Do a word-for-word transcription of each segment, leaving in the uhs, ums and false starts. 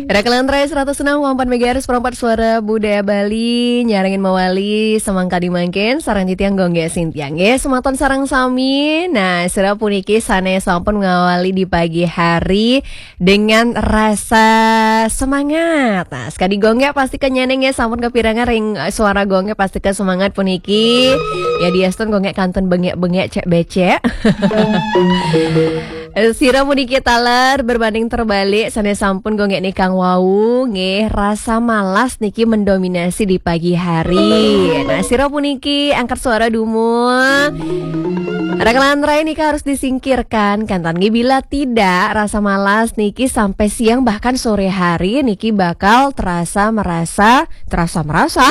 Rakelan Rai seratus enam koma empat megahertz, perempat suara budaya Bali, nyarengin mawali semangka di mangkin, sareng titiang Gongge Sintiang. Nggih, semeton sareng sami. Nah, sira puniki sane sampun ngawali di pagi hari dengan rasa semangat. Nah, sekadi Gongge pasti kenyaneng ya, sampun kepirengan ring, eh, suara Gongge pasti ke semangat puniki. Ya, diastun Gongge kantun bengek-bengek cek becek. Eh, sira puniki taler berbanding terbalik, sane sampun Gongge nikang wau, nggih, rasa malas niki mendominasi di pagi hari. Nah, sira puniki angkat suara dumun. Rakelan Rai niki harus disingkirkan, kan, tan, nggih, bila tidak, rasa malas niki sampai siang bahkan sore hari niki bakal terasa merasa, terasa merasa.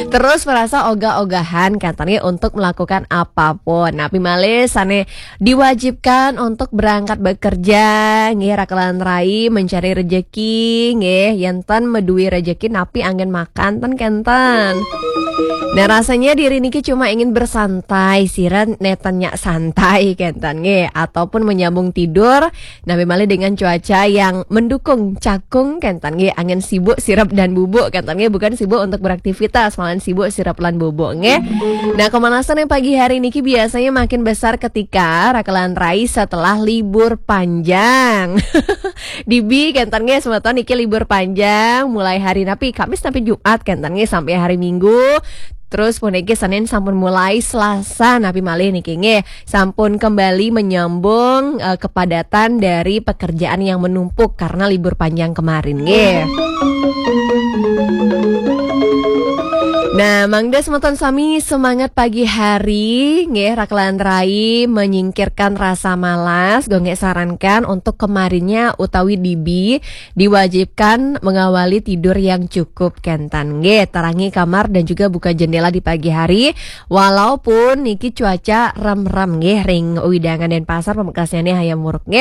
Terus merasa ogah-ogahan, kan, tan, nggih, untuk melakukan apapun. Napi malih sane diwajibkan untuk berangkat bekerja, nggih, Rakelan Rai mencari rejeki, nggih, yen ten meduwi rejeki napi anggen makan ten kenten. Nah, rasanya diri niki cuma ingin bersantai, sira neten nyak santai kenten nggih, ataupun menyambung tidur, napi malih dengan cuaca yang mendukung cakung kenten nggih, anggen sibuk sirep dan bubuk kenten nggih, bukan sibuk untuk beraktivitas, malahan sibuk sirep lan bubuk nggih. Nah, kemalasan yang pagi hari niki biasanya makin besar ketika Rakelan Rai setelah libur panjang. Dibi kenten nggih semeton niki libur panjang mulai hari napi Kamis napi Jumat kenten nggih sampai hari Minggu. Terus puniki Senin sampun mulai Selasa napi malih niki nggih sampun kembali menyambung, eh, kepadatan dari pekerjaan yang menumpuk karena libur panjang kemarin nggih. Nah, mangda semeton sami semangat pagi hari nggih, Rakelan Rai menyingkirkan rasa malas, Gongge sarankan untuk kemarinnya utawi dibi diwajibkan mengawali tidur yang cukup kenten nggih, terangi kamar dan juga buka jendela di pagi hari, walaupun niki cuaca rem-rem nggih ring wewidangan Denpasar, pamekasnyane hayam muruk nggih.